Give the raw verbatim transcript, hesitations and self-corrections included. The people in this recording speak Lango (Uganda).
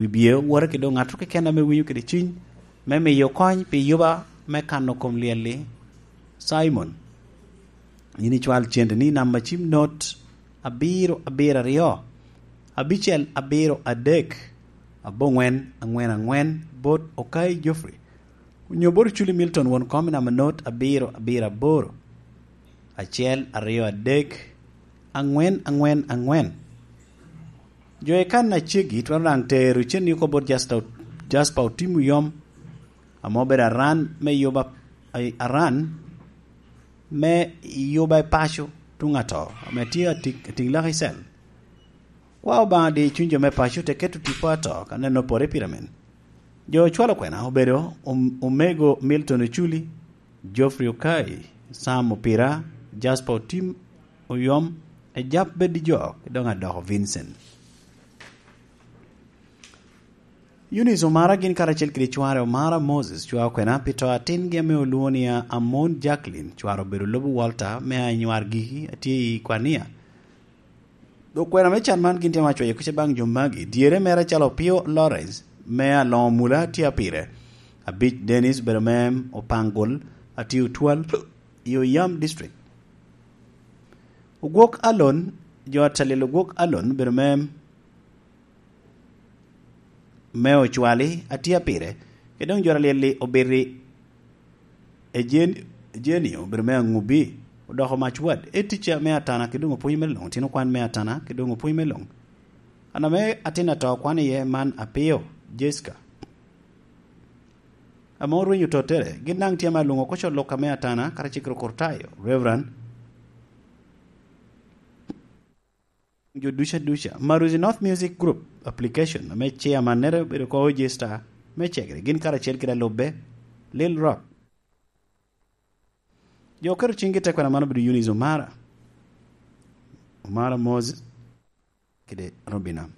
Wibye owote kede ŋat keken ame winyo kede cwiny me miyo kony pi yuba me kano kom lyel-li. Cimon, yin icwal cente ni namba cim not abiro abiro aryo, abicel abiro adek, aboŋwen aŋwen aŋwen, bot Okai Geoffrey, onyo bot Oculi Milton won kom i namba not abiro abiro aboro, acel aryo adek, aŋwen aŋwen aŋwen. Jo i kan aceggi twero daŋ tero cen oko bot Jasper, Jasper Otim Oyom, ame obedo aran me yuba, aran me yuba i paco tuŋ ato, ame tye atik-, atiŋ lak i cel. Kwa Obaŋa di cuny jo me paco te keto tipo ato ka neno pore i pyramid. Jo ocwalo kwena obedo om-, omego Milton Oculi, Geoffrey Okai, Sam Opira, Jasper Otim Oyom, Ejap Bed Jok, doŋ Adoko Vincent. Eunice Omara gin karacel kede cware Omara Moses cwao kwena pi to atingi ame olwoŋo ni Amon Jacqueline, cware obedo Lobo Walter me Anywar Giki, atye i Kwania. Dok kwena me can man gin tye ma acwayo kica baŋ jo magi. Dyere mere calo Opio Lawrence me Aloŋo Mula tye apire. Abic Dennis obedo me Opangol, atye Otwal i Oyam District. Ogwok Alon, jo atalil Ogwok Alon obedo me, me Ocwali, atye apire. Kede doŋ jo atalil-li obiti Ejen-, Ejenio obedo me Aŋubi, odoko Mac Wad. E ticca me Atana kede doŋ opwony me loŋ, tino kwan me Atana kede doŋ opwony me loŋ. An ame atin ato kwan iye man Apio, Jessica, ame orwenyo tottere, gin daŋ tye ame alwoŋo oko co lok ame Atana, karacel kede Okurtayo, Reverend, jo duca duca. Maruzi North Music Group application, ame chairmannere obedo oko Ojesta me Cegere, gin karacel kede alubbe, Lil Rock. Jo oketo ciŋgi i te kwena man obedo Eunice Omara, Omara Moses, kede Robina.